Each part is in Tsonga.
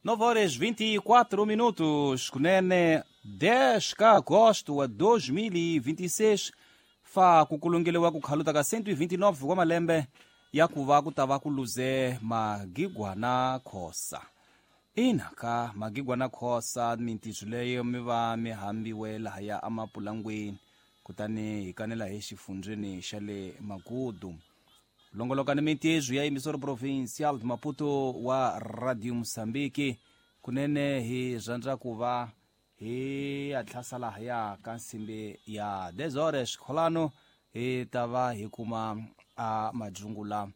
9 horas 24 minutos, kunene 10 ka agosto wa 2026, fa ku kulungeliwa ku khaluta ka 129 wa malembe ya ku va ku ta va ku luze Magigwana Khosa. Ina ka Magigwana Khosa, mintirho leyo mi va mi hambiwe lahaya emapulangweni, kutani hi kanela hi xifundzeni xa le Magudu. Longoloka ni mintirho ya Emissora Provincial de Maputo wa Radio Mozambique, kunene hi rhandza ku va hi ya tlhasa lahaya ka nsimbi ya 10 horas kholano, hi ta va hi kuma a madzungula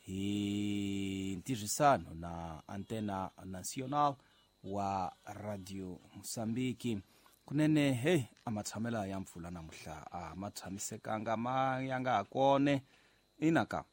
hi ntirhisano na Antena Nacional wa Radio Mozambique. Kunene hey, a matshamela ya mpfula namuhla a ma tshamisekanga, ma ya nga ha kone. Ina ka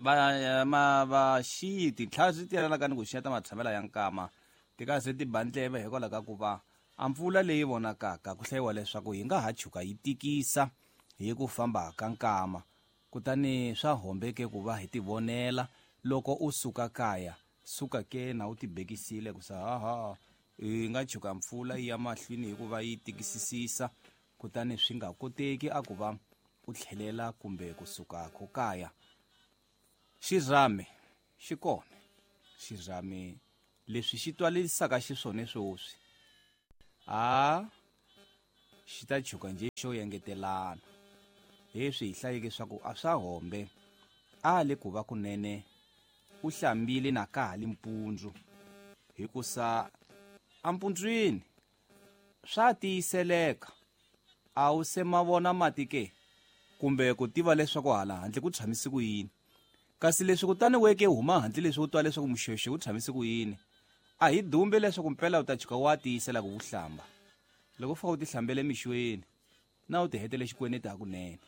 va ma va xiyi tintlhari ti yelana ni ku xiyeta matshamela ya nkama ti ka se ti ba ndleve hikwalaho ka ku va a mpfula leyi vonakaka ku hlayiwa leswaku yi nga ha chuka yi tikisa hi ku famba ka nkama, kutani swa hombeke ku va hi tivonela. Loko u suka kaya, suka ke na u tibekisile ku sa haha yi nga chuka mpfula yi ya mahlweni hikuva yi tikisisisa, kutani swi nga koteki a ku va u tlhelela kumbe kusuka ko kaya. Xirhami xi kona, xirhami leswi xi twalisaka xiswona sweswi a xi ta chuka nje xo yengetelana. Leswi hi hlayeke swa ku a swa hombe a le ku va kunene u hlambile na ka ha li mpundzu, hikusa empundzwini swa tiyiseleka a wu se ma vona mati ke, kumbe ku tiva leswaku hala handle ku tshamise ku yini. Kasi leswi kutani weke huma handle leswi u twa leswaku muxexo wu tshamise ku yini, a hi dumbe leswaku mpela u ta chuka wa tiyisela ku hlamba. Loko u fika u tihlambele mixweni na u ti hetele xikweneti hakunene.